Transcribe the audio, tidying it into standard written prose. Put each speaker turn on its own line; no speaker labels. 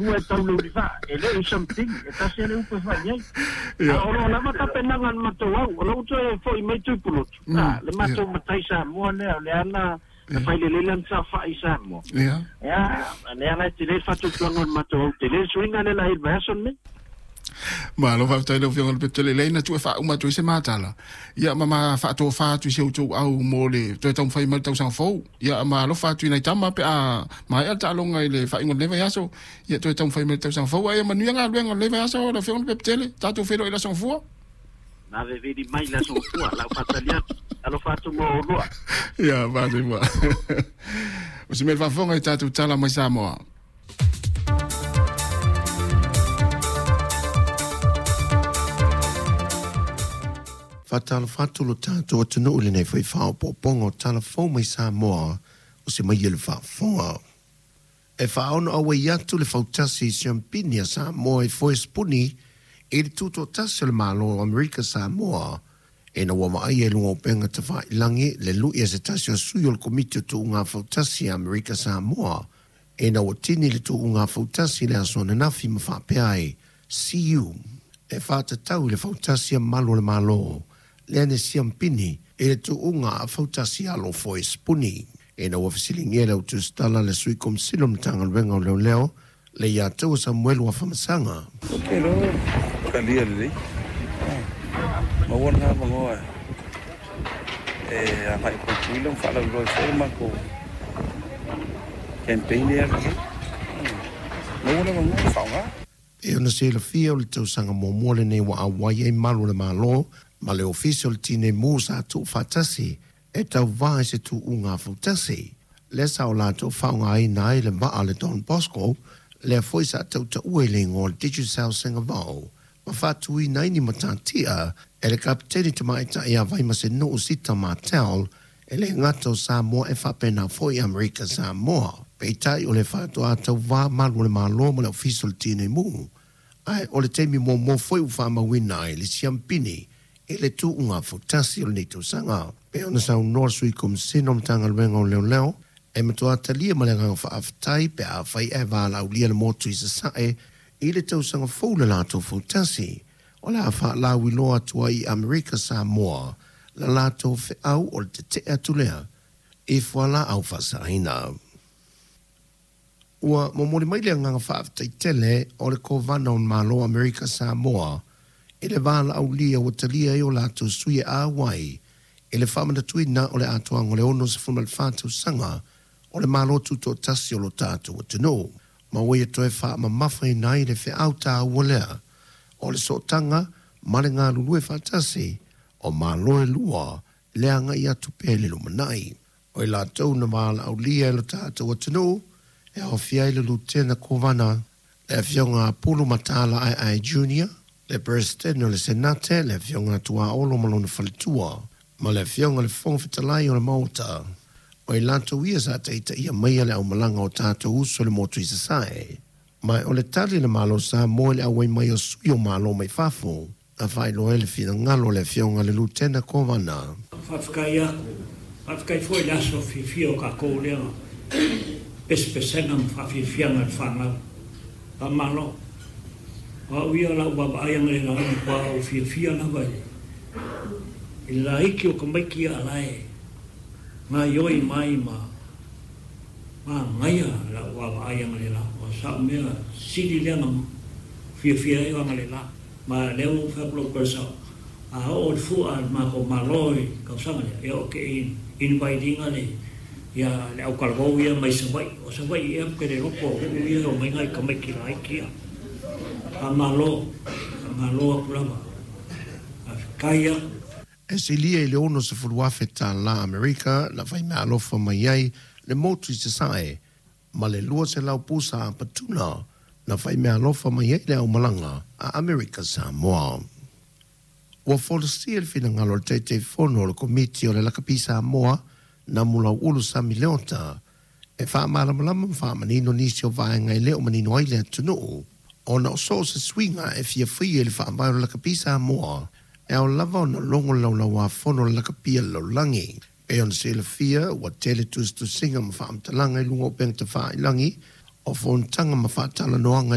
Ua e tau le vaa, e le o something, e tasi le upu e fai ai. A o lo lava tapenaga a le matou au, o lou toe foi mai Tuipulotu, a, le matou matai Samoa lea, o lea na fai lelei lana saofai i Samoa. Ia, lea la e tele le faatuatuaga o le matou au, tele le suiga lea la i le vaiaso lenei.
Malo faafetai i lau Afioga i le Petele. Leai na tuu e faauma atu ai se matala, ia ma ma faatofa atu i si outou au mo le toe taumafai mai le tausaga fou. Ia ma alofa atu i nai tama pe a maea le taaloga i le faaiuga o lenei vaiaso, ia toe taumafai mai le tausaga fou. Ae ia manuia galuega o lenei vaiaso lau Afioga i le Petele. Tatou feiloai i le Aso Gafua.
Vaveveli mai le Aso Gafua, lau faatali atu. Alofa atu mo oulua.
Ia, faasefua. O si mea le faafofoga i tatou tala mai Samoa.
Faatalofa atu lo tatou atunuu i lenei foi faaopoopoga o Tala Fou mai Samoa o se mai le faafofoga. E faaono auai atu le fautasi i siampini a Samoa i foe sipuni i le tutoatasi o le Malo o Amerika Samoa ina ua vaaia i luga o upega tafailagi le lui a se tasi o sui o le Komiti o Tuuga Fautasi a Amerika Samoa ina ua tini le tuuga fautasi i le aso ananafi ma faapea ai, See you! E faatatau i le fautasi a malu o le Malo, lea na siampini i le tuuga a fautasi alo foe sipuni. Ina ua fesiligia e le autusitala le Sui Komisina o le Matagaluega o Leoleo, le ia Taua Samuelu Afamasaga.
Ou te iloa ua talia lelei, maua lena avanoa e agai i Tutuila ma faalauiloa ai foi le matou campaign lea e alu nei. Maua le avanoa e faaaoga.
E ona silafia o le tausaga muamua lenei ua auai ai malu o le Malo ma le Ofisa o le Tinei Mu sa tuufaatasi e tauva i se tuuga fautasi. Lea sa o latou faaaogaina ai le vaa le Don Bosco, lea foi sa tautaua i le igoa o le Digicel Singavao, ma faatuina ai ni matatia e le Kapeteni Tamaitai ia Vaimasenuu Sita Martell, e le gata o Samoa e faapena foi Amerika Samoa. Peitai o le faatoa tauvā malu o le Malo ma le Ofisa o le Tinei Mu, ae o le taimi muamua foi ua faamauina ai le siampini i le tuuga fautasi o lenei tausaga. Pei ona saunoa le Sui Komisina o Matagaluega o Leoleo, e matua talia ma le agaga faafetai pe afai ae valaaulia le motu i Sasae i le tausaga fou le latou fautasi, o le a faalauiloa atu ai i Amerika Samoa la latou feau o le tetee atu lea i fualaau faasaina. Ua momoli mai le agaga faafetai tele o le Kovana o Malo o Amerika Samoa i le valaaulia ua talia ai o latou sui e auai i le faamanatuina o le atoaga o le 64 tausaga o le Malo Tutoatasi o lo tatou atunuu, ma ua ia toe faamamafaina ai le feau taua lea o le sootaga ma le galulue faatasi o Malo e lua le agai atu pea i le lumanai. O i latou na valaaulia e lo tatou atunuu e aofia ai le Lutena Kovana, le Afioga a Pulu Mataala Aeae Junior, le Peresetene o le Senate, le Afioga a Tuaolo ma lona faletua, ma le Afioga i le Fofoga Fetalai o le Maota. O i latou ia sa taitaia maia le aumalaga o tatou uso i le motu i Sasae. Ma o le tali a le Malo Samoa i le auai mai o sui o Malo mai fafo, na faailoa ai le finagalo o le Afioga i le Lutena Kovana.
Faafetai atu. Faafetai foi i le aso fiafia o tatou lea pesepesega ma faafiafiaga i le fanau. Faamalo. O au ia o lau vaavaai analeila ua matua ou fiafia lava i le laiti o tamaiti ia a la e gaioi mai ma manaia lau vaavaai analeila. O sa'u mea sili lea na fiafia ai o analeila. Ma lea ua ou fai atu lau tala a oo le fua a le matou Malo i le tausaga lea, ia ou te invite ina le ia le autalavou ia mai Savaii. O Savaii ea ou te le iloa po o nuu ia e omai nai tamaiti laiti ia. Faamalo, faamalo atu lava. Faafetai atu.
E silia i le 60,000 tala Amerika na faimeaalofa mai ai le motu i Sasae ma le 200 pusa a patuna na faimeaalofa mai ai le aumalaga a Amerika Samoa. Ua folasia le finagalo o le Taitaifono o le Komiti o le Lakapi Samoa, Namulau'ulu Sami Leota, e faamalamalama ma faamanino nisi o vaega e le o manino ai le atunuu, ona o so o se suiga e fia faia i le faavae o le Lakapi Samoa, e ao lava ona logo le Laulauāfono o le Lakapi a le Lalolagi. E pei ona silafia, ua tele tusitusiga ma faamatalaga i luga o upega tafailagi. O fonotaga ma faatalanoaga.